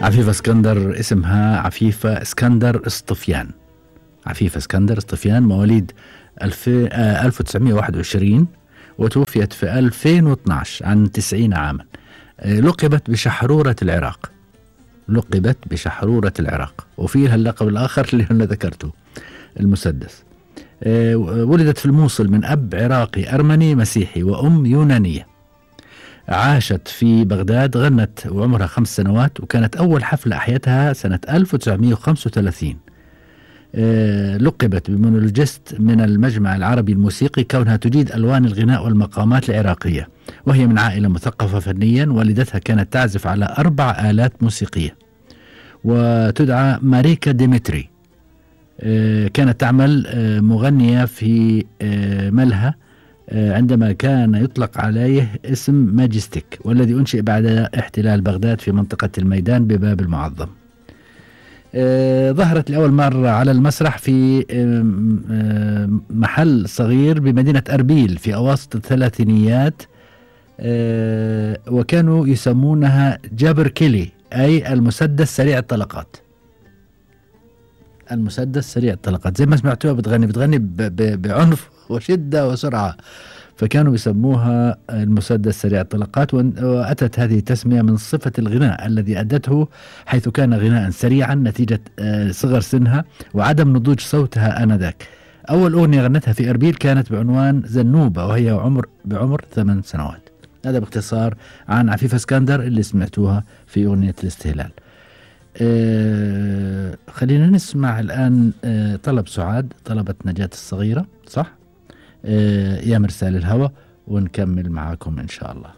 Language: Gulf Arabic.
عفيفة اسكندر اسمها عفيفة اسكندر اسطفيان. عفيفة اسكندر اسطفيان مواليد 1921 وتوفيت في 2012 عن 90 عاما. لقبت بشحرورة العراق. لقبت بشحرورة العراق، وفيها اللقب الآخر اللي أنا ذكرته المسدس. ولدت في الموصل من أب عراقي أرمني مسيحي وأم يونانية. عاشت في بغداد، غنت وعمرها 5 سنوات، وكانت أول حفلة أحيتها سنة 1935. لقبت بمونولوجيست من المجمع العربي الموسيقي كونها تجيد ألوان الغناء والمقامات العراقية، وهي من عائلة مثقفة فنيا. والدتها كانت تعزف على 4 آلات موسيقية وتدعى ماريكا ديمتري. كانت تعمل مغنية في ملهى عندما كان يطلق عليه اسم ماجستيك، والذي أنشئ بعد احتلال بغداد في منطقة الميدان بباب المعظم. ظهرت لأول مرة على المسرح في محل صغير بمدينة أربيل في أواسط الثلاثينيات، وكانوا يسمونها جابر كيلي، أي المسدس سريع الطلقات. المسدس سريع الطلقات، زي ما سمعتوها بتغني بعنف وشدة وسرعة، فكانوا يسموها المسدس سريع الطلقات. وأتت هذه التسمية من صفة الغناء الذي أدته، حيث كان غناء سريعا نتيجة صغر سنها وعدم نضوج صوتها آنذاك. أول أغنية غنتها في أربيل كانت بعنوان زنوبة، وهي بعمر 8 سنوات. هذا باختصار عن عفيفة اسكندر اللي سمعتوها في أغنية الاستهلال. خلينا نسمع الآن طلب سعاد، طلبت نجاة الصغيرة، صح؟ يا مرسال الهوى، ونكمل معاكم إن شاء الله.